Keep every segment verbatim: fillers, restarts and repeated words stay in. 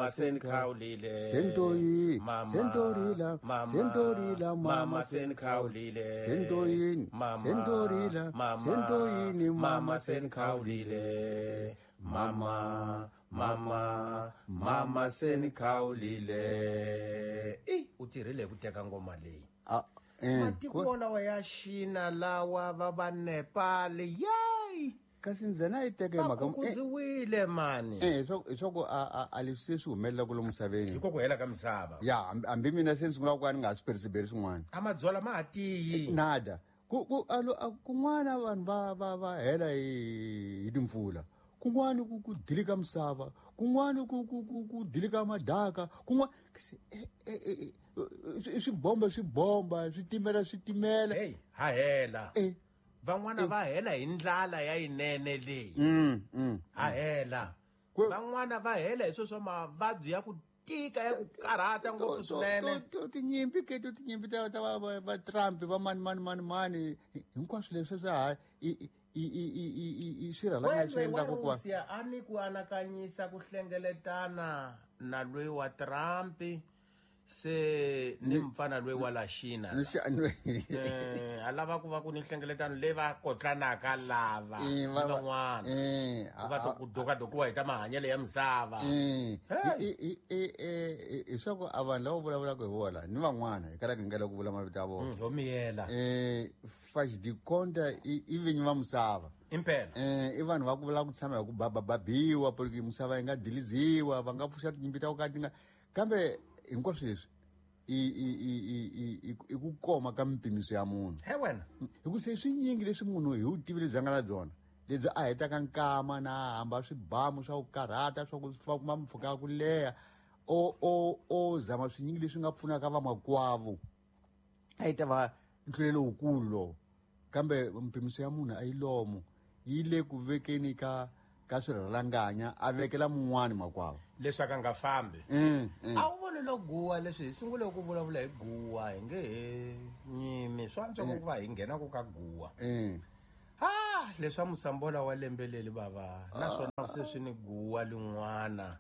Mama senikhawulile. Sentoyi Mama, sentorila mama, sentorila mama senikhawulile. Sentoyini Mama, sentorila mama, sentoyini mama senikhawulile. Mama, mama, mama senikhawulile. Eh, u tirhile ku teka ngoma leyi. Ah, eh, Matiko lawa ya Xina lawa va va Nepal, yey! Kasi ndzena yi teka hi Va mhaka eh, khukuziwile mani. eh, swa swa ku a a a leswi se swi humelela lomu misaveni. Hi ko ku hela ka misava. Ya, hambi hambi mina se ni sungula ku ka ni nga ha swi perisiberi swin'wana. A madzola ma ha tiyi. Nada. Ku ku alo a- kun'wana vanhu va va va hela hi hi timpfula. Kun'wana ku ku dilika misava, kun'wana ku ku ku ku dilika madaka, kun'wana kasi, eh, eh, eh, eh, swi bomba swi bomba, switimela switimela. Hey, ha hela. Eh. Van'wana va hela hi ndlala ya yinene leyi. Mm, mm. Ha hela. Kwe- Van'wana va hela hi swo swa mavabyi ya ku tika ya ku karhata ngopfu To- swinene. to- to- tinyimpi ke to tinyimpi ta ta va va- va Trump va mani mani mani mani hinkwaswo leswi swa ha i i i i i i i swirhalanganya swi Wena wa endlaka ku va Russia a ni ku anakanyisa ku hlengeletana na loyi wa Trump se ni mfana loyi wa la Xina ni xi- ni- eh a lava ku va ku ni nhlengeletano leyi va kotlanaka lava Eh, ni va- va- van'wana eh, ku va to ku dokadokiwa hi ta mahanyelo ya misava. Eh, Hey. i- i- i- i- i swa ku a vanhu lava vulavulaka hi vona ni van'wana hi kalaka hi nga lavi ku vula mavito ya vona. Mm, ho miyela. Eh, faz de conta i i vinyi va misava. Impela. Eh, i vanhu va ku vula ku tshama hi ku babababiwa porque misava yi nga diliziwa, va nga pfuxa tinyimpi ta ku ka ti nga, kambe hinkwaswo leswi i i i i i i i ku koma ka mipimiso ya munhu. He wena. Hi ku se swinyingi leswi munhu hi vutivi lebyi a nga na byona lebyi a hetaka nkama na hamba swibamu swa ku karhata swa ku fa kuma mpfhuka ya ku leha o o o zama swinyingi leswi nga pfunaka vamakwavo a yi ta va ntlulelo wukulu lowu, kambe mpimiso ya munhu a yi lomo yi le ku vekeni ka ka swirhalanganya a vekela mun'wani makwavo. Leswaku a nga fambi. Mm, mm. A wu voni lo guwa leswi hi sungule ku vulavula hi guwa hi nge he nyimi swa antswa ku va hi nghena ku ka guwa. Mm. Ah, leswa musambola wa lembe leri bava naswona se swi ni guwa lin'wana.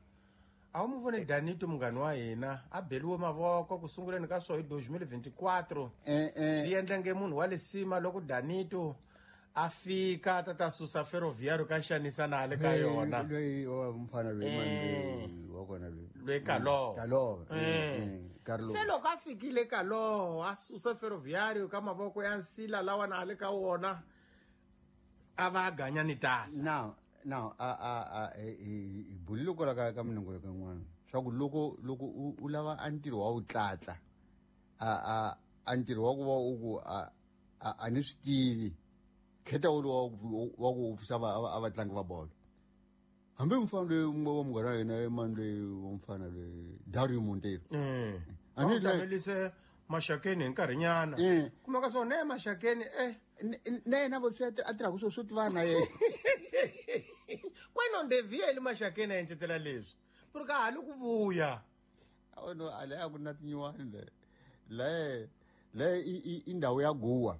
A wu mu voni Danito munghani wa hina a beliwe mavoko ku sunguleni ka swo hi twenty twenty-four. Eh, eh. Swi endla nge munhu wa lisima loko Danito a fika ta ta susa Ferroviário ka xanisa na le ka yona. Loyi wa mfana loyi mani loyi wa kona loyi. Loyi Kaloho. Kaloho, eh, Eh. eh, Carlo. Se loko a fikile Kaloho a susa Ferroviário ka mavoko ya nsila lawa na le ka wona a va a ganya ni tasa. Now now a a a hi hi bulile kwala ka ka minongo ka n'wana swa ku loko loko u u lava a ntirho wa wu tlatla a a a ntirho wa ku va u ku a a a ni swi tivi khetha wu wa ku wa ku pfuxa va a vatlangi va bolo hambi mufana loyi wa munghana wa hina mani loyi wa mufana loyi Dario Monteiro. Mm. A ni A wu la- tamelise Maxakeni hi nkarhinyana. Eh. Kumeka swona ne Maxakeni eh Na yena vo swi a tirhaka swo swo tivana na yena. Kweno ndevieli Maxakeni a encetela leswi ku ri ka ha li ku vuya. Awu no, a leyi a ku ri na tinyiwani le le le i i i ndhawu ya guwa.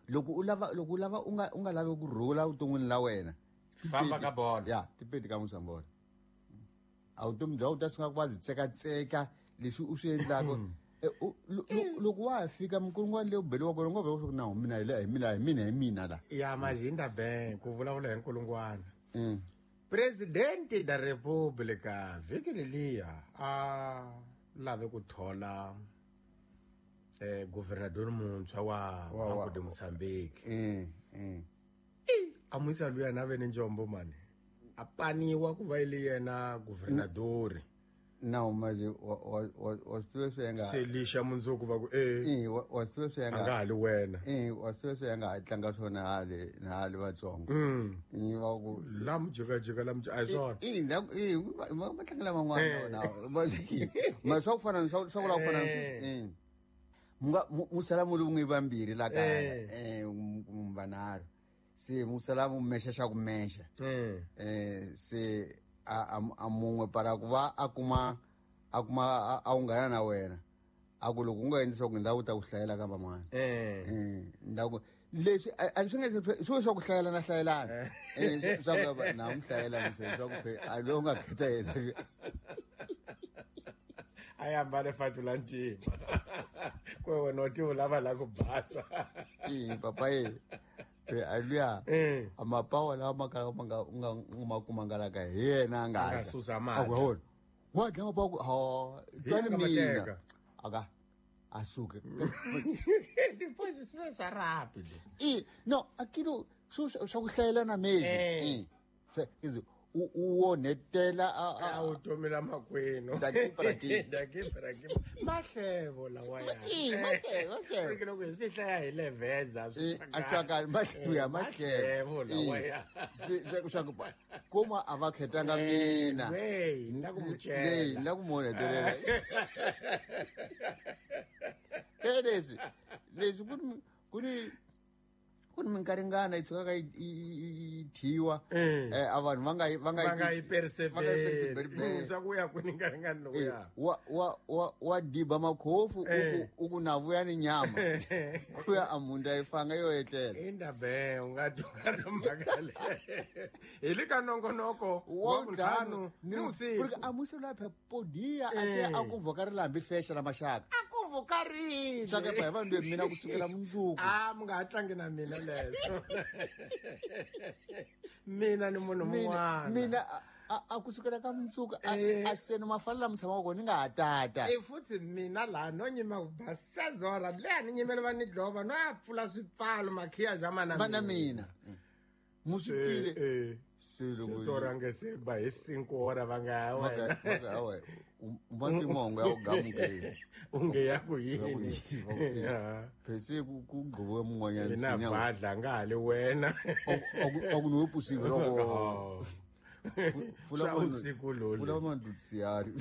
Loko u lava loko u lava u nga u nga lavi ku rhula vuton'wini la wena, Famba ka bolo. Ya tipeti ka musambola a vutomi bya u ta sungula ku va byi tsekatseka leswi u swi endlaka. Eh, u- lo- lo- loko wa ha fika minkulungwana leyi u beliwaka kona u nga veka ku na mina hi le hi mina hi mina hi mina la. Ya mazinda ben ku vulavula hi nkulungwana. Mm. Presidente da República vhiki leliya a lave ku thola eh governador muntshwa wa Wa- wa- Banco de Mozambique. Mm, mm. A muisa luya na ve ni njombo mani a paniwa ku va ile yena governadori. Nawu manje wa wa wa wa swi tiva swi ya nga Se lixa mundzuku va ku eh Eh, wa wa swi tiva swi ya a nga nga ha li wena. Eh, wa swi tiva swi ya nga ha tlanga swona hale na hale vatsongo. Mm. Eh, va ku La mujikajika la muji a hi swona. Eh, la eh va va tlangela van'wana Eh. na ma swa ku fana swa swa ku lava ku fana Eh. eh mu nga mu mu sala mu ri vun'we vambirhi la kaya Eh. eh mu vanharhu se mu sala mu mexa xa ku mexa. Eh. Eh, se a a a mun'we para ku va a kuma a kuma a- a unghana na wena a ku loko u nga endli swa ku ndhawu ta ku hlayela ka van'wana. Eh. Eh, ndhawu leswi a a swi nga swi swa ku hlayelana hlayelana eh swa ku na mu hlayela mse swa ku fe a lowu nga khetha yena. A ya ambale fatula ntima. Kwe wena u ti u lava la ku basa. I papa ye. Pe aluya. Eh. Amapawa lawa ma ka ma nga nga ma kuma nga la ka hi yena a nga A nga susa mati. A ku hona. Wa dlaya mapawa ku ha Hi yena twani a nga ma mina. teka. Aka a suke. Depois swi swa rapid. I no akilo swo swa ku hlayelana mezi. Eh. Eh. Swe u u onhetela a A a wu tomi la makwenu. Daki para ki. Daki para ki. Mahlevo lawa ya. I mahlevo mahlevo. Ku loko hi swi hlaya hi leveza Eh, a swa mahlevo ya mahlevo mahlevo. lawa ya. Se swa swa ku kuma a va khetanga mina. Wey, ni la ku mu Leyi cela. ni la ku mu onhetelela. Ke leswi leswi ku ni ku ni ku ni minkaringana yi tshukaka yi yi thyiwa Eh. eh a vanhu va nga yi va nga Va nga yi va nga yi perceive. perceive. Swa ku ya kwini nkaringani loko Eh, ya. wa wa wa wa diba makhofu u Eh. ku u ku na vuya ni nyama ku ya amunda yi fanga yo etlela Indaba u nga twa ri mhaka leyi. Hi le ka nongonoko wa vuntlhanu ni vusiku. Porque a musi la podia a te Eh. a ku voka ri lambi fexa la maxaka A ku vokarile. swa ka pa vanhu mina ku sukela mundzuku A mi nga ha tlangi na mina leswo. Mina ni munhu mina mun'wana. mina a- a a ku sukela ka mundzuku a Eh. a seni mafana lama tshamaka kona ni nga ha tata E futhi mina laha no nyima ku basa zora leya ni nyimele va ni dlova no ya pfula swipfalo makhiya ja mana va na mina Se, musipile eh, Se loko- se to range se ba hi cinco hora va nga ya Va ka- wena. va ka, awa, u- u ma timongo ya ku gamukeni U nge ya ku Ya ku yini yini, va ku yini. Ya. phese ku ku gqiviwe mun'wanyana Hi na nsinya vadla nga ha le wena a ku ni we pusive loko Oh. Pfula Swa manu- usiku lolu. pfula mandutsiyari